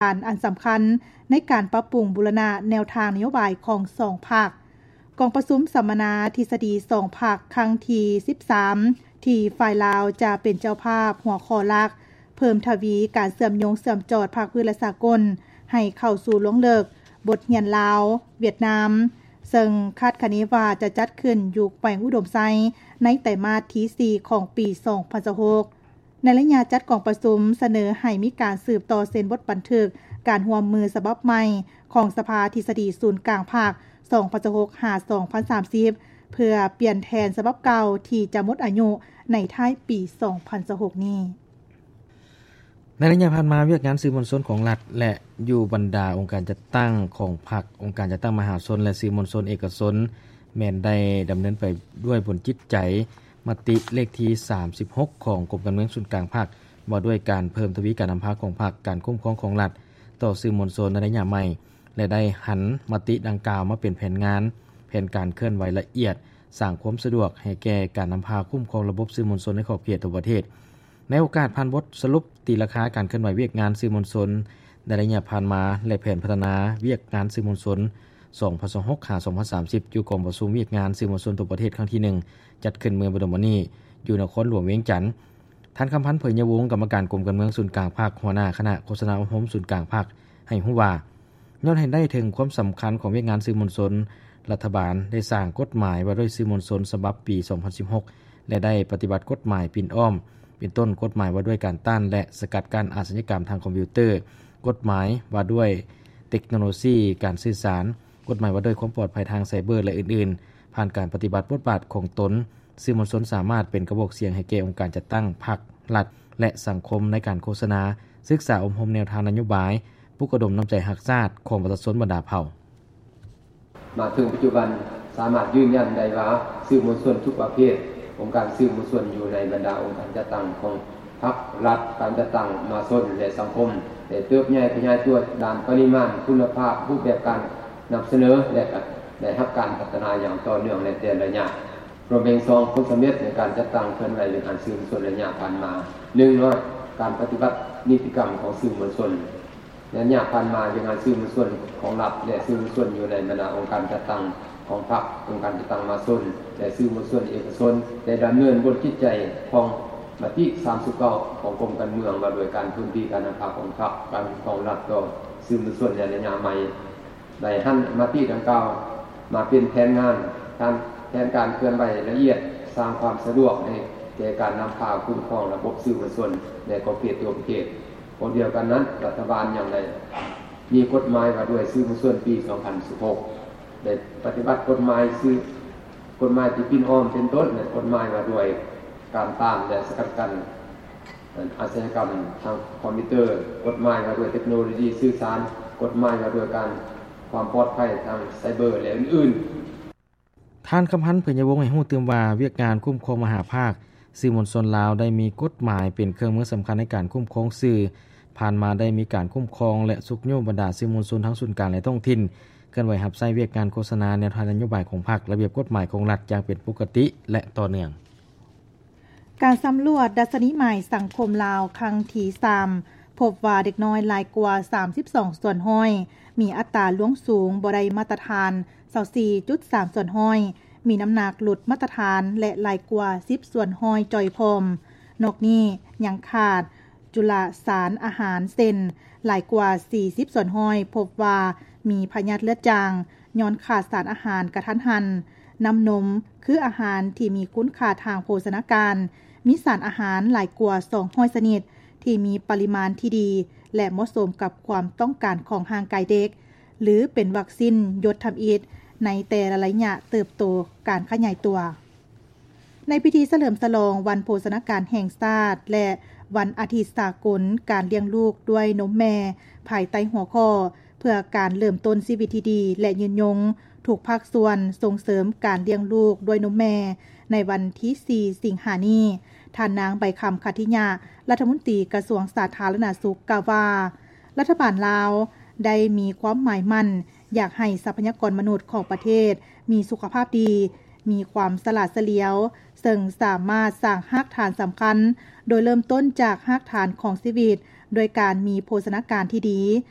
ານອັນສຳຄັນໃນການປັບປຸງບູລະນະແນວທາງນະໂຍບາຍຂອງສອງພັກ. ກອງປະຊຸມສຳມະນາທິດສະດີສອງພັກຄັ້ງທີສິບສາມ ທີ່ຝ່າຍລາວຈະເປັນເຈົ້າພາບ ຫົວຂໍ້ຫຼັກ ເພີ່ມທະວີການເຊື່ອມໂຍງເຊື່ອມຈອດພາກພື້ນ ແລະ ສາກົນ ໃຫ້ເຂົ້າສູ່ລວງເລິກບົດຮຽນລາວ-ຫວຽດນາມ, ເຊິ່ງຄາດຄະເນວ່າຈະຈັດຂຶ້ນຢູ່ແຂວງອຸດົມໄຊ ໃນໄຕມາດທີສີ່ຂອງປີສອງພັນຊາວຫົກ. ໃນໄລຍະຈັດກອງປະຊຸມ ສະເໜີໃຫ້ມີການສືບຕໍ່ເຊັນບົດບັນທຶກການຮ່ວມມືສະບັບໃໝ່ຂອງສະພາທິດສະດີສູນກາງພັກ ສອງພັນຊາວຫົກ ຫາ ສອງພັນສາມສິບ ເພື່ອປ່ຽນແທນສະບັບເກົ່າທີ່ຈະໝົດອາຍຸໃນທ້າຍປີສອງພັນຊາວຫົກນີ້. ໃນໄລຍະຜ່ານມາ, ວຽກງານສື່ມວນຊົນຂອງລັດ ແລະ ຢູ່ບັນດາອົງການຈັດຕັ້ງຂອງພັກ, ອົງການຈັດຕັ້ງມະຫາຊົນ ແລະ ສື່ມວນຊົນເອກະຊົນ ແມ່ນໄດ້ດຳເນີນໄປດ້ວຍບົນຈິດໃຈ ມະຕິເລກທີສາມສິບຫົກ ຂອງກົມການເມືອງສູນກາງພັກ ວ່າດ້ວຍການເພີ່ມທະວີການນຳພາຂອງພັກ, ການຄຸ້ມຄອງຂອງລັດຕໍ່ສື່ມວນຊົນໃນໄລຍະໃໝ່ ແລະ ໄດ້ຫັນມະຕິດັ່ງກ່າວມາເປັນແຜນງານ, ແຜນການເຄື່ອນໄຫວລະອຽດ, ສ້າງຄວາມສະດວກໃຫ້ແກ່ການນຳພາຄຸ້ມຄອງລະບົບສື່ມວນຊົນໃນຂອບເຂດທົ່ວປະເທດ. ໃນໂອກາດຜ່ານບົດສະຫຼຸບຕີລາຄາການເຄື່ອນໄຫວວຽກງານສື່ມວນຊົນໃນໄລຍະຜ່ານມາ ແລະ ແຜນພັດທະນາວຽກງານສື່ມວນຊົນ ສອງພັນຊາວຫົກ ຫາ ສອງພັນສາມສິບ ຢູ່ກອງປະຊຸມວຽກງານສື່ມວນຊົນທົ່ວປະເທດຄັ້ງທີໜຶ່ງ ຈັດຂຶ້ນເມື່ອບໍ່ດົນມານີ້ ຢູ່ນະຄອນຫຼວງວຽງຈັນ, ທ່ານ ຄຳພັນ ເຜີຍຍະວົງ ກຳມະການກົມການເມືອງສູນກາງພັກ, ຫົວໜ້າຄະນະໂຄສະນາອົບຮົມສູນກາງພັກ ໃຫ້ຮູ້ວ່າ ຍ້ອນເຫັນໄດ້ເຖິງຄວາມສຳຄັນຂອງວຽກງານສື່ມວນຊົນ, ລັດຖະບານໄດ້ສ້າງກົດໝາຍວ່າດ້ວຍສື່ມວນຊົນສະບັບປີສອງພັນສິບຫົກ ແລະ ໄດ້ປະຕິບັດກົດໝາຍປິ່ນອ້ອມ ເປັນຕົ້ນ ກົດໝາຍວ່າດ້ວຍການຕ້ານ ແລະ ສະກັດກັ້ນອາຊະຍາກຳທາງຄອມພິວເຕີ, ກົດໝາຍວ່າດ້ວຍເຕັກໂນໂລຊີການສື່ສານ, ກົດໝາຍວ່າດ້ວຍຄວາມປອດໄພທາງໄຊເບີ ແລະ ອື່ນໆ. ຜ່ານການປະຕິບັດບົດບາດຂອງຕົນ, ສື່ມວນຊົນສາມາດເປັນກະບອກສຽງໃຫ້ແກ່ອົງການຈັດຕັ້ງ, ພັກ, ລັດ ແລະ ສັງຄົມໃນການໂຄສະນາ, ສຶກສາອົບຮົມແນວທາງນະໂຍບາຍ, ປຸກລະດົມນ້ຳໃຈຮັກຊາດຂອງປະຊາຊົນບັນດາເຜົ່າ. ມາເຖິງປັດຈຸບັນ ສາມາດຢືນຢັນໄດ້ວ່າ ສື່ມວນຊົນທຸກປະເພດ, ອົງການສື່ມວນຊົນຢູ່ໃນບັນດາອົງການຈັດຕັ້ງຂອງພັກ, ລັດ, ການຈັດຕັ້ງມະຫາຊົນ ແລະ ສັງຄົມ ໄດ້ເຕີບໃຫຍ່ຂະຫຍາຍຕົວດ້ານປະລິມານ, ຄຸນນະພາບ, ຮູບແບບການນຳສະເໜີ ແລະ ກະໄດ້ຮັບການພັດທະນາຢ່າງຕໍ່ເນື່ອງໃນແຕ່ລະໄລຍະ. ລວມເປັນສອງຜົນສຳເລັດໃນການຈັດຕັ້ງເຄື່ອນໄຫວວຽກງານສື່ມວນຊົນໄລຍະຜ່ານມາ. ໜຶ່ງເນາະ, ການປະຕິບັດນິຕິກຳຂອງສື່ມວນຊົນ. ໄລຍະຜ່ານມາ, ວຽກງານສື່ມວນຊົນຂອງລັດ ແລະ ສື່ມວນຊົນຢູ່ໃນບັນດາອົງການຈັດຕັ້ງຂອງພັກ, ອົງການຈັດຕັ້ງມະຫາຊົນ ແລະ ສື່ມວນຊົນເອກະຊົນ ໄດ້ດຳເນີນບົນຈິດໃຈຂອງມະຕິສາມສິບເກົ້າຂອງກົມການເມືອງ ວ່າດ້ວຍການເພີ່ມທະວີການນຳພາຂອງພັກ, ການຄຸ້ມຄອງລັດຕໍ່ສື່ມວນຊົນໃນໄລຍະໃໝ່. ໄດ້ຫັນມະຕິດັ່ງກ່າວມາເປັນແຜນງານ, ການ, ແຜນການເຄື່ອນໄຫວລະອຽດ, ສ້າງຄວາມສະດວກໃຫ້ແກ່ການນຳພາຄຸ້ມຄອງລະບົບສື່ມວນຊົນໃນຂອບເຂດທົ່ວປະເທດ. ພ້ອມດຽວກັນນັ້ນ, ລັດຖະບານຍັງໄດ້ມີກົດໝາຍວ່າດ້ວຍສື່ມວນຊົນປີສອງພັນສິບຫົກ, ໄດ້ປະຕິບັດກົດໝາຍສື່, ກົດໝາຍທີ່ປິ່ນອ້ອມເປັນຕົ້ນ, ແລະ ກົດໝາຍວ່າດ້ວຍການຕ້ານ ແລະ ສະກັດກັ້ນ ອາຊະຍາກຳທາງຄອມພິວເຕີ, ກົດໝາຍວ່າດ້ວຍເຕັກໂນໂລຊີສື່ສານ, ກົດໝາຍວ່າດ້ວຍການຄວາມປອດໄພທາງໄຊເບີ ແລະ ອື່ນໆ. ທ່ານ ຄຳພັນ ເຜີຍຍະວົງ ໃຫ້ຮູ້ຕື່ມວ່າ ວຽກງານຄຸ້ມຄອງມະຫາພາກສື່ມວນຊົນລາວ ໄດ້ມີກົດໝາຍເປັນເຄື່ອງມືສຳຄັນໃນການຄຸ້ມຄອງສື່. ຜ່ານມາໄດ້ມີການຄຸ້ມຄອງ ແລະ ຊຸກຍູ້ບັນດາສື່ມວນຊົນທັງສູນກາງ ແລະ ທ້ອງຖິ່ນ ເຄື່ອນໄຫວຮັບໃຊ້ວຽກງານໂຄສະນາແນວທາງນະໂຍບາຍຂອງພັກ, ລະບຽບກົດໝາຍຂອງລັດຢ່າງເປັນປົກກະຕິ ແລະ ຕໍ່ເນື່ອງ. ການສຳຫຼວດດັດຊະນີໃໝ່ສັງຄົມລາວຄັ້ງທີສາມ ພົບວ່າເດັກນ້ອຍຫຼາຍກວ່າສາມສິບສອງສ່ວນຮ້ອຍ ມີອັດຕາລ່ວງສູງບໍ່ໄດ້ມາດຕະຖານຊາວສີ່ຈຸດສາມສ່ວນຮ້ອຍ, ມີນ້ຳໜັກຫຼຸດມາດຕະຖານ ແລະ ຫຼາຍກວ່າສິບສ່ວນຮ້ອຍຈ່ອຍພ້ອມ. ນອກນີ້ຍັງຂາດຈຸລະສານອາຫານ ເຊັ່ນ ຫຼາຍກວ່າສີ່ສິບສ່ວນຮ້ອຍ ພົບວ່າມີພະຍາດເລືອດຈາງ ຍ້ອນຂາດສານອາຫານກະທັນຫັນ. ນ້ຳນົມ ຄືອາຫານທີ່ມີຄຸນຄ່າທາງໂພຊະນາການ, ມີສານອາຫານຫຼາຍກວ່າສອງຮ້ອຍຊະນິດ ທີ່ມີປະລິມານທີ່ດີ ແລະ ເໝາະສົມກັບຄວາມຕ້ອງການຂອງຮ່າງກາຍເດັກ, ຫຼື ເປັນວັກຊີນຢົດທຳອິດໃນແຕ່ລະໄລຍະເຕີບໂຕການຂະຫຍາຍຕົວ. ໃນພິທີສະເຫຼີມສະຫຼອງວັນໂພຊະນາການແຫ່ງຊາດ ແລະ ວັນອາທິດສາກົນການລ້ຽງລູກດ້ວຍນົມແມ່ ພາຍໃຕ້ຫົວຂໍ້ ເພື່ອການເລີ່ມຕົ້ນຊີວິດທີ່ດີ ແລະ ຍືນຍົງ, ທຸກພາກສ່ວນສົ່ງເສີມການລ້ຽງລູກດ້ວຍນົມແມ່ ໃນວັນທີສີ່ສິງຫານີ້, ທ່ານນາງ ໃບຄຳ ຂັດທິຍະ ລັດຖະມົນຕີກະຊວງສາທາລະນະສຸກ ກ່າວວ່າ ລັດຖະບານລາວໄດ້ມີຄວາມໝາຍໝັ້ນ ຢາກໃຫ້ຊັບພະຍາກອນມະນຸດຂອງປະເທດມີສຸຂະພາບດີ, ມີຄວາມສະຫຼາດສະຫຼຽວ, ເຊິ່ງສາມາດສ້າງຮາກຖານສຳຄັນ ໂດຍເລີ່ມຕົ້ນຈາກຮາກຖານຂອງຊີວິດ ດ້ວຍການມີໂພຊະນາການທີ່ດີ.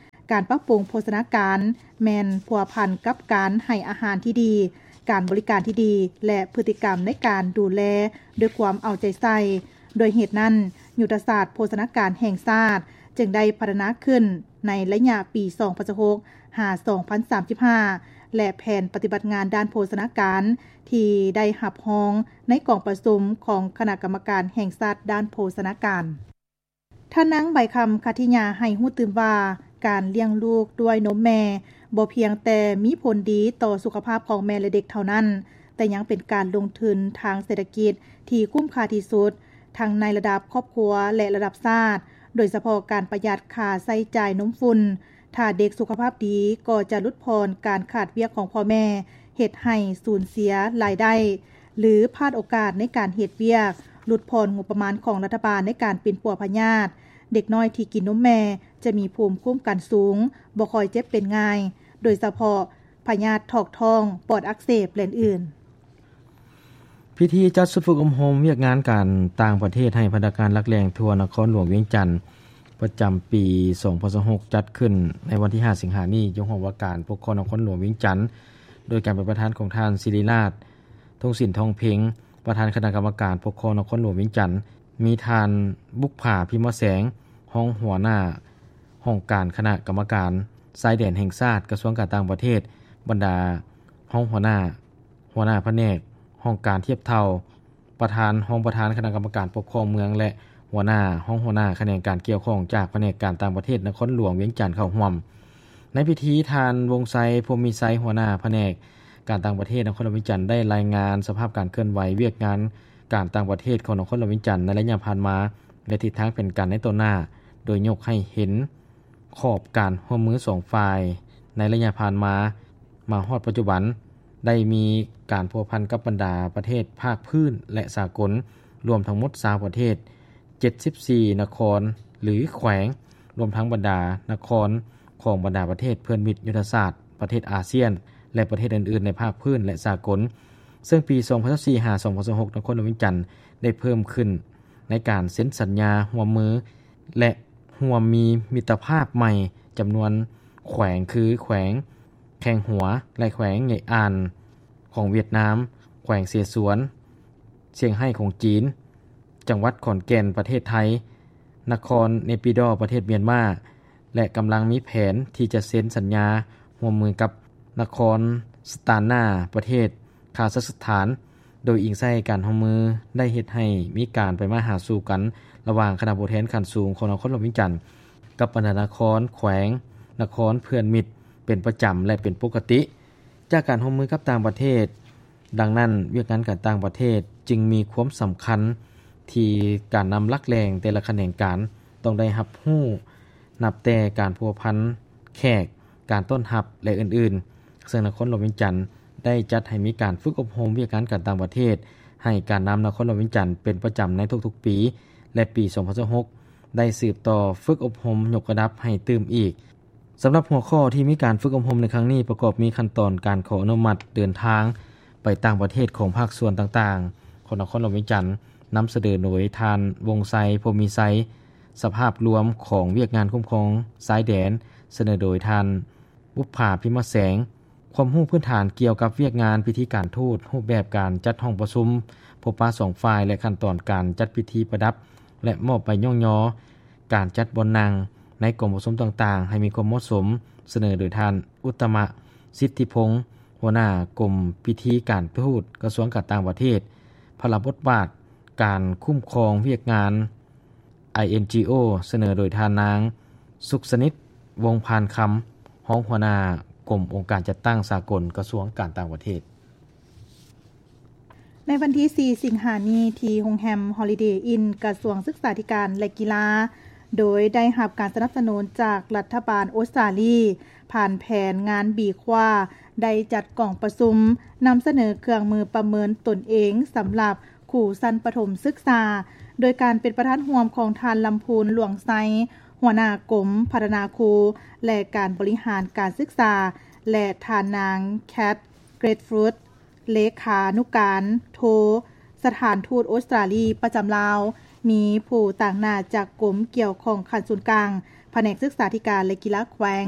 ການປັບປຸງໂພຊະນາການແມ່ນພົວພັນກັບການໃຫ້ອາຫານທີ່ດີ, ການບໍລິການທີ່ດີ ແລະ ພຶດຕິກຳໃນການດູແລດ້ວຍຄວາມເອົາໃຈໃສ່. ດ້ວຍເຫດນັ້ນ, ຍຸດທະສາດໂພຊະນາການແຫ່ງຊາດຈຶ່ງໄດ້ພັດທະນາຂຶ້ນໃນໄລຍະປີສອງພັນຊາວຫົກ ຫາ ສອງພັນສາມສິບຫ້າ ແລະ ແຜນປະຕິບັດງານດ້ານໂພຊະນາການທີ່ໄດ້ຮັບຮອງໃນກອງປະຊຸມຂອງຄະນະກຳມະການແຫ່ງຊາດດ້ານໂພຊະນາການ. ທ່ານນາງ ໃບຄຳ ຄັດທິຍາ ໃຫ້ຮູ້ຕື່ມວ່າ ການລ້ຽງລູກດ້ວຍນົມແມ່ບໍ່ພຽງແຕ່ມີຜົນດີຕໍ່ສຸຂະພາບຂອງແມ່ ແລະ ເດັກເທົ່ານັ້ນ, ແຕ່ຍັງເປັນການລົງທຶນທາງເສດຖະກິດທີ່ຄຸ້ມຄ່າທີ່ສຸດ, ທັງໃນລະດັບຄອບຄົວ ແລະ ລະດັບຊາດ, ໂດຍສະເພາະການປະຢັດຄ່າໃຊ້ຈ່າຍນົມຝຸ່ນ. ຖ້າເດັກສຸຂະພາບດີກໍຈະຫຼຸດຜ່ອນການຂາດວຽກຂອງພໍ່ແມ່, ເຮັດໃຫ້ສູນເສຍລາຍໄດ້ ຫຼື ພາດໂອກາດໃນການເຮັດວຽກ, ຫຼຸດຜ່ອນງົບປະມານຂອງລັດຖະບານໃນການປິ່ນປົວພະຍາດ. ເດັກນ້ອຍທີ່ກິນນົມແມ່ຈະມີພູມຄຸ້ມກັນສູງ, ບໍ່ຄ່ອຍເຈັບເປັນງ່າຍ, ໂດຍສະເພາະພະຍາດຖອກທ້ອງ, ປອດອັກເສບ ແລະ ອື່ນໆ. ພິທີຈັດຊຸດຝຶກອົບຮົມວຽກງານການຕ່າງປະເທດໃຫ້ພະນັກງານຫຼັກແຫຼ່ງທົ່ວນະຄອນຫຼວງວຽງຈັນ ປະຈຳປີສອງພັນຊາວຫົກ ຈັດຂຶ້ນໃນວັນທີຫ້າ ສິງຫານີ້ ຢູ່ຫ້ອງວ່າການປົກຄອງນະຄອນຫຼວງວຽງຈັນ ໂດຍການເປັນປະທານຂອງທ່ານ ສິລິລາດ ທົງສິນ ທອງເພັງ ປະທານຄະນະກຳມະການປົກຄອງນະຄອນຫຼວງວຽງຈັນ, ມີທ່ານ ບຸບຜາ ພິມມະແສງ ຮອງຫົວໜ້າຫ້ອງການຄະນະກຳມະການຊາຍແດນແຫ່ງຊາດ ກະຊວງການຕ່າງປະເທດ, ບັນດາຮອງຫົວໜ້າ, ຫົວໜ້າພະແນກ, ຫ້ອງການທຽບເທົ່າ, ປະທານ, ຮອງປະທານຄະນະກຳມະການປົກຄອງເມືອງ ແລະ ຫົວໜ້າ, ຮອງຫົວໜ້າຂະແໜງການກ່ຽວຂ້ອງຈາກພະແນກການຕ່າງປະເທດນະຄອນຫຼວງວຽງຈັນເຂົ້າຮ່ວມ. ໃນພິທີ, ທ່ານ ວົງໄຊ ພົມມີໄຊ ຫົວໜ້າພະແນກການຕ່າງປະເທດນະຄອນຫຼວງວຽງຈັນ ໄດ້ລາຍງານສະພາບການເຄື່ອນໄຫວວຽກງານການຕ່າງປະເທດຂອງນະຄອນຫຼວງວຽງຈັນໃນໄລຍະຜ່ານມາ ແລະ ທິດທາງແຜນການໃນຕໍ່ໜ້າ, ໂດຍຍົກໃຫ້ເຫັນ ຂອບການຮ່ວມມືສອງຝ່າຍໃນໄລຍະຜ່ານມາ, ມາຮອດປັດຈຸບັນ ໄດ້ມີການພົວພັນກັບບັນດາປະເທດພາກພື້ນ ແລະ ສາກົນ ລວມທັງໝົດຊາວປະເທດ, ເຈັດສິບສີ່ນະຄອນ ຫຼື ແຂວງ, ລວມທັງບັນດານະຄອນຂອງບັນດາປະເທດເພື່ອນມິດຍຸດທະສາດປະເທດອາຊຽນ ແລະ ປະເທດອື່ນໆໃນພາກພື້ນ ແລະ ສາກົນ. ເຊິ່ງປີສອງພັນຊາວສີ່ ຫາ ສອງພັນຊາວຫົກ ນະຄອນຫຼວງວຽງຈັນໄດ້ເພີ່ມຂຶ້ນໃນການເຊັນສັນຍາຮ່ວມມື ແລະ ຮ່ວມມີມິດຕະພາບໃໝ່ຈຳນວນແຂວງ ຄື ແຂວງແຄງຫົວ ແລະ ແຂວງເຫງະອ່ານຂອງຫວຽດນາມ, ແຂວງເສສວນ, ຊຽງໄຮ້ຂອງຈີນ, ຈັງຫວັດຂອນແກ່ນປະເທດໄທ, ນະຄອນເນປີດໍປະເທດມຽນມາ ແລະ ກຳລັງມີແຜນທີ່ຈະເຊັນສັນຍາຮ່ວມມືກັບນະຄອນສະຕານນາປະເທດຄາຊາກສະຖານ. ໂດຍອີງໃສ່ການຮ່ວມມືໄດ້ເຮັດໃຫ້ມີການໄປມາຫາສູ່ກັນລະຫວ່າງຄະນະຜູ້ແທນຂັ້ນສູງຂອງນະຄອນຫຼວງວຽງຈັນ ກັບບັນດານະຄອນ, ແຂວງ, ນະຄອນເພື່ອນມິດເປັນປະຈຳ ແລະ ເປັນປົກກະຕິ ຈາກການຮ່ວມມືກັບຕ່າງປະເທດ. ດັ່ງນັ້ນ, ວຽກງານການຕ່າງປະເທດຈຶ່ງມີຄວາມສຳຄັນທີ່ການນຳຫຼັກແຫຼ່ງແຕ່ລະຂະແໜງການຕ້ອງໄດ້ຮັບຮູ້, ນັບແຕ່ການພົວພັນແຂກ, ການຕ້ອນຮັບ ແລະ ອື່ນໆ. ເຊິ່ງນະຄອນຫຼວງວຽງຈັນໄດ້ຈັດໃຫ້ມີການຝຶກອົບຮົມວຽກງານການຕ່າງປະເທດໃຫ້ການນຳນະຄອນຫຼວງວຽງຈັນເປັນປະຈຳໃນທຸກໆປີ ແລະ ປີສອງພັນຊາວຫົກ ໄດ້ສືບຕໍ່ຝຶກອົບຮົມຍົກລະດັບໃຫ້ຕື່ມອີກ. ສຳລັບຫົວຂໍ້ທີ່ມີການຝຶກອົບຮົມໃນຄັ້ງນີ້ ປະກອບມີຂັ້ນຕອນການຂໍອະນຸມັດເດີນທາງໄປຕ່າງປະເທດຂອງພາກສ່ວນຕ່າງໆຂອງນະຄອນຫຼວງວຽງຈັນ, ນຳສະເໜີໂດຍທ່ານ ວົງໄຊ ພົມມີໄຊ, ສະພາບລວມຂອງວຽກງານຄຸ້ມຄອງຊາຍແດນ, ສະເໜີໂດຍທ່ານ ບຸບຜາ ພິມມະແສງ, ຄວາມຮູ້ພື້ນຖານກ່ຽວກັບວຽກງານພິທີການທູດ, ຮູບແບບການຈັດຫ້ອງປະຊຸມ, ພົບປະສອງຝ່າຍ ແລະ ຂັ້ນຕອນການຈັດພິທີປະດັບ ແລະ ມອບໃບຍ້ອງຍໍ, ການຈັດບ່ອນນັ່ງໃນກອງປະຊຸມຕ່າງໆໃຫ້ມີຄວາມເໝາະສົມ, ສະເໜີໂດຍທ່ານ ອຸດຕະມະ ສິດທິພົງ, ຫົວໜ້າກົມພິທີການທູດ ກະຊວງການຕ່າງປະເທດ, ພາລະບົດບາດການຄຸ້ມຄອງວຽກງານ ໄອເອັນຈີໂອ ສະເໜີໂດຍທ່ານນາງ ສຸກສະນິດ ວົງພານຄຳ, ຮອງຫົວໜ້າກົມອົງການຈັດຕັ້ງສາກົນ ກະຊວງການຕ່າງປະເທດ. ໃນວັນທີສີ່ ສິງຫານີ້ ທີ່ໂຮງແຮມ Holiday Inn ກະຊວງສຶກສາທິການ ແລະ ກິລາ ໂດຍໄດ້ຮັບການສະໜັບສະໜູນຈາກລັດຖະບານອົດສະຕາລີ ຜ່ານແຜນງານ B Quad ໄດ້ຈັດກອງປະຊຸມນຳສະເໜີເຄື່ອງມືປະເມີນຕົນເອງສຳລັບຄູຊັ້ນປະຖົມສຶກສາ ໂດຍການເປັນປະທານຮ່ວມຂອງທ່ານ ລຳພູນ ຫຼວງໄຊ ຫົວໜ້າກົມພັດທະນາຄູ ແລະ ການບໍລິຫານການສຶກສາ ແລະ ທ່ານນາງ ແຄດ ເກຣດຟຣຸດ ເລຂານຸການໂທສະຖານທູດອົດສະຕາລີປະຈຳລາວ, ມີຜູ້ຕາງໜ້າຈາກກົມກ່ຽວຂ້ອງຂັ້ນສູນກາງ, ພະແນກສຶກສາທິການ ແລະ ກິລາແຂວງ